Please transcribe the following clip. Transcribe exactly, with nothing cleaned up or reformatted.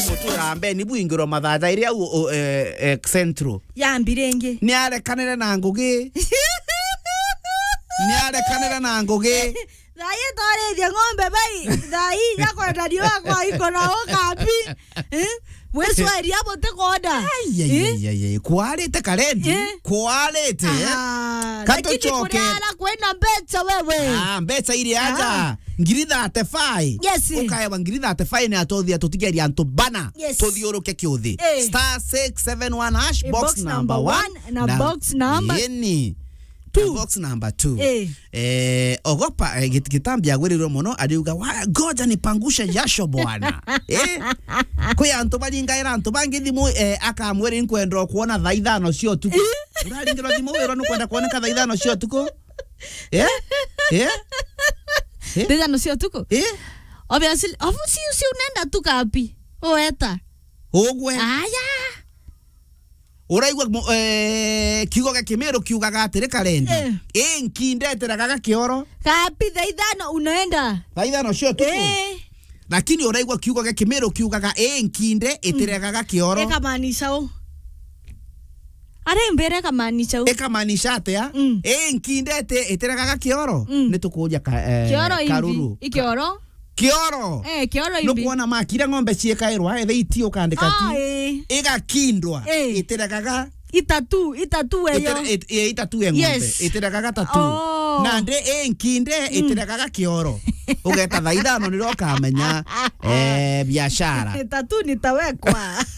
Gutura mbeni bwingirwa mathaa jairi au, o, eh, eh, Central. Yambi ringi. Ni arekanire na ngugi. Ni arekanire na ngugi. Thaa ii twarithia ng'ombe bai. Thaa ii ya kwenda riua kwa iko na ukambi. Eh? Wicweria buti kwenda. Ai, ai, Eh? ai, ai, ai. Kwarite karendi. Eh? Kwarite, eh? Ah, lakini Katucoke. Kuriara kwina mbeca wewe. Ah, mbeca iri aja. Ah. Ngiri thirty-five. Yes. Ukaewa ngiri thirty-five ni atothia tutigeria antu bana. Yes. Tuthiuruke kiuthi. Eh. Star six seven one hash, Eh, box box number number one, one na na box number ini. Two. Na box number two. Eh. Eh, ogopa, eh, git-, gitambi agwirirwe mono, ariuga, "Wa-, ngoja nipangushe jasho bwana." Eh? Kwi antu baringaira antu bangi thimu, eh, akamwira, "Inkwenda kuona thaa ithano cia utuku." Eh? Uraringirwa thimu, wirwa nukwenda kuoneka thaa ithano cia utuku? Eh? Eh? Eh? Thaa ithano cia utuku? Eh? Obviously, obviously, si unaenda tu kapi. Ueta. Ugwe. Aya. Uraigua mo-, eh, kiugo gia Kimiru kiugaga atiri, Karendi. Eh. Ii nkinde itiraga ga kioro. Kapi thaa ithano unaenda. Thaa ithano cia utuku? Eh. Lakini uraigua kiugo gia Kimiru kiugaga, "Ii nkinde itiraga ga kioro." Ikamaanisha u? Ari mbere ikamaanisha u? Ikamaanisha atia? Mm. Ii nkinde iti-, itiraga ga kioro? Mm. Ni tukuuria ka-, eh, Kioro imbi? Karuru. I kioro? Kioro. Eh, kioro imbi. Nukwona makira ng'ombe ciikairwa, ethe iti ukandika Ah, ti. Eh. Igakindwa, Eh. Itiraga ga Itatu, itatu eyo. Itira-, it-, eh, itatu e ng'ombe. Yes. Itiraga ga tatu. Oh. Nandi ii nkinde Mm. itiraga ga kioro. Ugeta thaa ithano nirio ukamenya, eh, biashara. Tatu nitawekwa.